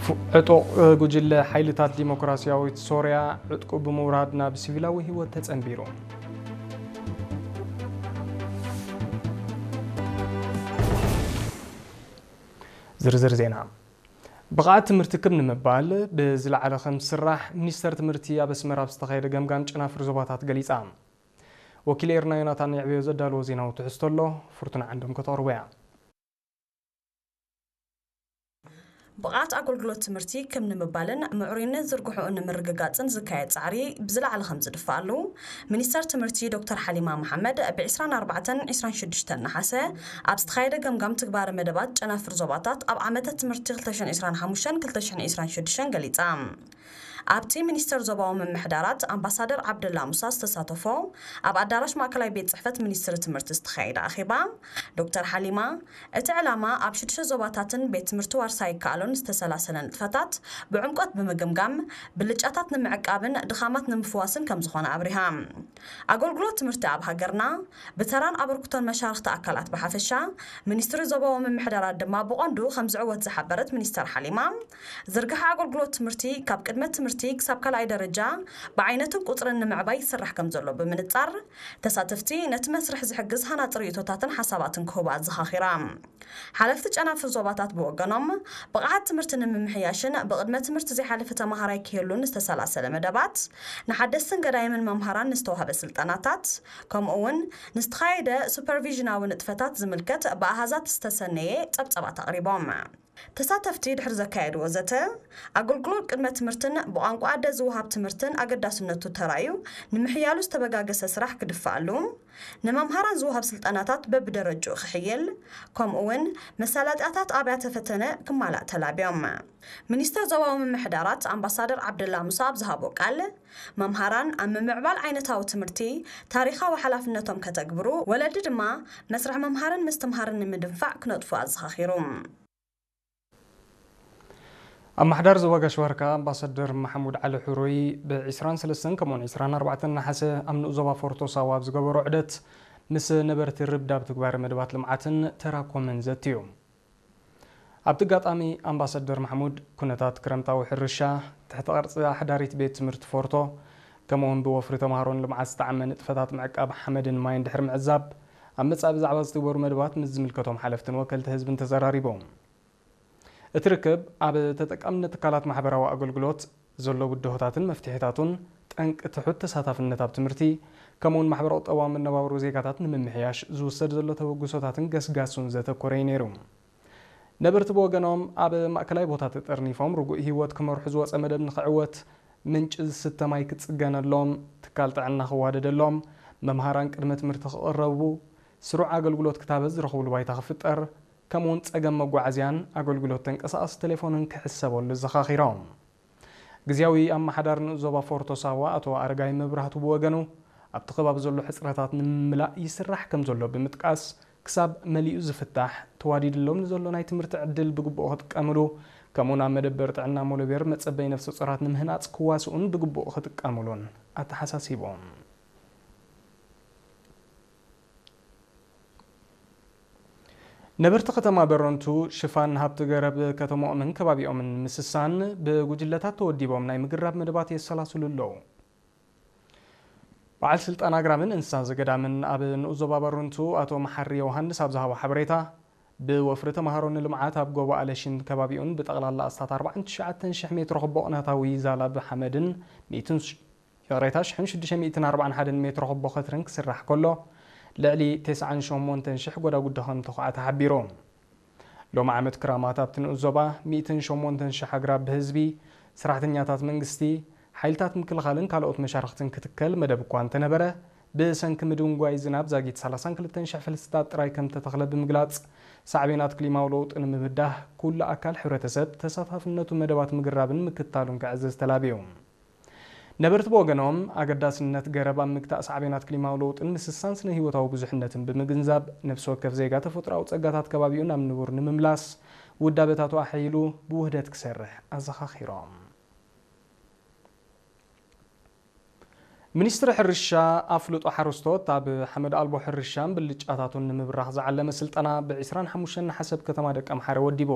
ዕጡቕ ጉጅለ ሓይልታት ዲሞክራሲያዊት ሶርያ ዕጥቁ ብምውራድ ናብ ሲቪላዊ ህይወት ተጸንቢሩ። ዝርዝር ዜና። ብቕዓት ትምህርቲ ክብ ንምባል ብዝለዓለ ከም ዝስራሕ ሚኒስተር ትምህርቲ ኣብ ኣስመራ ኣብ ዝተኻየደ ገምጋም ጨናፍር ዞባታት ገሊጻ። ወኪል ኤርና ዮናታን የዕብዮ ዘዳለዎ ዜናዊ ትሕዝቶ ኣሎ፣ ፍርቱና ዓንዶም ከተቕርቦ እያ። ብቕዓት ኣገልግሎት ትምህርቲ ክብ ንምባልን ምዕሩይነት ዝርግሕኡ ንምርግጋጽን ዝካየድ ጻዕሪ ብዝለዓለ ከም ዝድፋኣሉ፣ ሚኒስተር ትምህርቲ ዶክተር ሓሊማ መሓመድ ብ ዕስራን ኣርባዕተን ዕስራን ሽዱሽተን ነሓሰ ኣብ ዝተኻየደ ገምጋም ትግባረ መደባት ጨናፍር ዞባታት ኣብ ዓመተ ትምህርቲ ክልተ ሽሕን ዕስራን ሓሙሽተን ክልተ ሽሕን ዕስራን ሽዱሽተን ገሊጻ። ኣብቲ ሚኒስተር ዞባዊ ምምሕዳራት ኣምባሳደር ዓብደላ ሙሳ ዝተሳተፎ ኣብ ኣዳራሽ ማእከላይ ቤት ጽሕፈት ሚኒስትሪ ትምህርቲ ዝተኻየደ ኣኼባ፣ ዶክተር ሓሊማ፣ እቲ ዕላማ ኣብ ሽዱሽተ ዞባታትን ቤት ትምህርቲ ዋርሳይ ይከኣሎን ዝተሰላሰለ ንጥፈታት ብዕምቆት ብምግምጋም፣ ብልጫታት ንምዕቃብን ድኻማት ንምፍዋስን ከም ዝኾነ ኣብሪሃ። ኣገልግሎት ትምህርቲ ኣብ ሃገርና ብተራን ኣበርክቶን መሻርኽቲ ኣካላት ብሓፈሻ፣ ሚኒስትሪ ዞባዊ ምምሕዳራት ድማ ብቐንዱ ከም ዝዕወት ዝሓበረት ሚኒስተር ሓሊማ፣ ዝርግሐ ኣገልግሎት ትምህርቲ ካብ ቅድመ ትምህርቲ ክሳብ ካልኣይ ደረጃ ብዓይነትን ቁጽርን ንምዕባይ ይስራሕ ከም ዘሎ ብምንጻር፣ ተሳተፍቲ ነቲ መስርሕ ዝሕግዝ ሃናጺ ርእይቶታትን ሓሳባትን ክህቡ ኣዘኻኺራ። ሓለፍቲ ጨናፍር ዞባታት ብወገኖም፣ ብቕዓት ትምህርቲ ንምምሕያሽን ብቕድመ ትምህርቲ ዘይሓለፈ ተማሃራይ ክህሉን ዝተሰላሰለ መደባት፣ ንሓደስትን ገዳይምን መምሃራን ንዝተዋህበ ስልጠናታት፣ ከምኡ እውን ንዝተኻየደ ሱፐርቪዥናዊ ንጥፈታት ዝምልከት ብኣሃዛት ዝተሰነየ ጸብጸባት ኣቕሪቦም። ተሳተፍቲ ድሕሪ ዘካየድዎ ዘተ፣ ኣገልግሎት ቅድመ ትምህርትን ብቋንቋ ኣደ ዝወሃብ ትምህርትን ኣገዳስነቱ ተራእዩ ንምሕያሉ ዝተበጋገሰ ስራሕ ክድፋኣሉ፣ ንመምሃራን ዝወሃብ ስልጠናታት በብደረጅኡ ክሕይል፣ ከምኡ እውን መሳለጥያታት ኣብያተ ፈተነ ክማላእ ተላብዮም። ሚኒስተር ዞባዊ ምምሕዳራት ኣምባሳደር ዓብደላ ሙሳ ኣብ ዝሃቦ ቃል፣ መምሃራን ኣብ ምምዕባል ዓይነታዊ ትምህርቲ ታሪኻዊ ሓላፍነቶም ከተግብሩ፣ ወለዲ ድማ መስርሕ ምምሃርን ምስትምሃርን ንምድንፋዕ ክነጥፉ ኣዘኻኺሩ። ኣመሓዳሪ ዞባ ጋሽ ባርካ ኣምባሳደር ማሕሙድ ዓሊ ሕሩይ ብ ዕስራን ሰለስተን ከምኡውን ዕስራን ኣርባዕተን ነሓሰ ኣብ ንኡስ ዞባ ፎርቶ ሳዋ ኣብ ዝገበሮ ዑደት ምስ ነበርቲ ርብዳብ ትግባረ መደባት ልምዓትን ተራኮምን ዘትዩ። ኣብቲ ኣጋጣሚ ኣምባሳደር ማሕሙድ ኩነታት ክረምታዊ ሕርሻ፣ ትሕቲ ቅርጺ ኣሕዳሪት ቤት ትምህርቲ ፎርቶ፣ ከምኡውን ብወፍሪ ተምሃሮን ልምዓት ዝጠዓመ ንጥፈታት ምዕቃብ ሓመድን ማይን ድሕሪ ምዕዛብ፣ ኣብ መጻኢ ብዛዕባ ዝትግበሩ መደባት ምስ ዝምልከቶም ሓለፍትን ወከልቲ ህዝብን ተዘራሪቦም። እቲ ርክብ ኣብ ተጠቃምነት ትካላት ማሕበራዊ ኣገልግሎት ዘሎ ብድሆታትን መፍትሒታቱን፣ ጠንቂ ትሑት ተሳታፍነት ኣብ ትምህርቲ፣ ከምኡውን ማሕበረ ቁጠባዊ መነባብሮ ዜጋታት ንምምሕያሽ ዝውሰድ ዘሎ ተበግሶታትን ገስጋሱን ዘተኮረ እዩ ነይሩ። ነበርቲ ብወገኖም ኣብ ማእከላይ ቦታ ተጠርኒፎም ርጉእ ህይወት ክመርሑ ዝወጸ መደብ ንኽዕወት፣ ምንጪ ዝስተ ማይ ክጽገነሎም፣ ትካል ጥዕና ክዋደደሎም፣ መምሃራን ቅድመ ትምህርቲ ክቕረቡ፣ ስሩዕ ኣገልግሎት ክታበት ዝረኽብሉ ባይታ ክፍጠር፣ ከምኡውን ጸገም መጓዓዝያን ኣገልግሎት ተንቀሳቓሲ ቴሌፎንን ክሕሰበሉ ዘኻኺሮም። ግዝያዊ ኣመሓዳሪ ንኡስ ዞባ ፎርቶ ሳዋ ኣቶ ኣረጋይ መብራህቱ ብወገኑ፣ ኣብቲ ከባቢ ዘሎ ሕጽረታት ንምምላእ ይስራሕ ከም ዘሎ ብምጥቃስ፣ ክሳብ መሊኡ ዝፍታሕ፣ ተዋዲድሎም ንዘሎ ናይ ትምህርቲ ዕድል ብግቡእ ክጥቀምሉ፣ ከምኡውን ኣብ መደበር ጥዕና ሞሎቤር መጸበይ ነፍሰ ጾራት ንምህናጽ ክዋስኡን ብግቡእ ክጥቀምሉን ኣተሓሳሲቦም። ነበርቲ ከተማ በረንቱ ሽፋን ሃብቲ ገረብ ከተማኦምን ከባቢኦምን ምስሳን ብጉጅለታት ተወዲቦም ናይ ምግራብ መደባት የሰላስሉ ኣለዉ። በዓል ስልጣን ኣግራብን እንስሳ ዘገዳምን ኣብ ንኡስ ዞባ በረንቱ ኣቶ መሓሪ ዮሃንስ ኣብ ዝሃቦ ሓበሬታ፣ ብወፍሪ ተምሃሮ ንልምዓት ኣብ ጎቦ ኣለሽን ከባቢኡን ብጠቕላላ ኣስታት ኣርባዓን ትሽዓተን ሽሕ ሜትሮ ክቦ ቅናታዊ ዛላብ ሓመድን ሚእትን ይቕሬታ፣ ሽሕን ሽዱሽተ ሚእትን ኣርባዓን ሓደን ሜትሮ ክቦ ከትርን ክስራሕ ከሎ፣ ልዕሊ ተስዓን ሸሞንተን ሽሕ ጎዳጉዲ ከም ተኹዓ ተሓቢሩ። ሎሚ ዓመት ክራማት ኣብቲ ንኡስ ዞባ ሚእትን ሸሞንተን ሽሕ ኣግራብ ብህዝቢ፣ ሰራሕተኛታት መንግስቲ፣ ሓይልታት ምክልኻልን ካልኦት መሻርኽትን ክትከል መደብ እኳ እንተነበረ፣ ብሰንኪ ምድንጓይ ዝናብ ዛጊት ሰላሳን ክልተን ሽሕ ፈልስታት ጥራይ ከም ተተኽለ ብምግላጽ፣ ሳዕቤናት ክሊማዊ ለውጢ ንምብዳህ ኩሉ ኣካል ሕብረተሰብ ተሳታፍነቱ መደባት ምግራብን ምክታሉን ክዕዘዝ ተላብዩ። ነበርቲ ብወገኖም፣ ኣገዳስነት ገረብ ኣብ ምግታእ ሳዕቤናት ክሊማዊ ለውጥን ምስሳን ስነ ህይወታዊ ብዙሕነትን ብምግንዛብ፣ ነፍሲ ወከፍ ዜጋ ተፈጥሮኣዊ ጸጋታት ከባቢኡ ናብ ንቡር ንምምላስ፣ ውዳበታቱ ኣሐይሉ ብውህደት ክሰርሕ ኣዘኻኺሮም። ሚኒስትሪ ሕርሻ ኣፍልጦ ሓረስቶት ኣብ ሓመድ ኣልቦ ሕርሻን ብልጫታቱን ንምብራኽ ዝዓለመ ስልጠና ብ ዕስራን ሓሙሽተን ነሓሰ ኣብ ከተማ ደቀምሓረ ወዲቡ።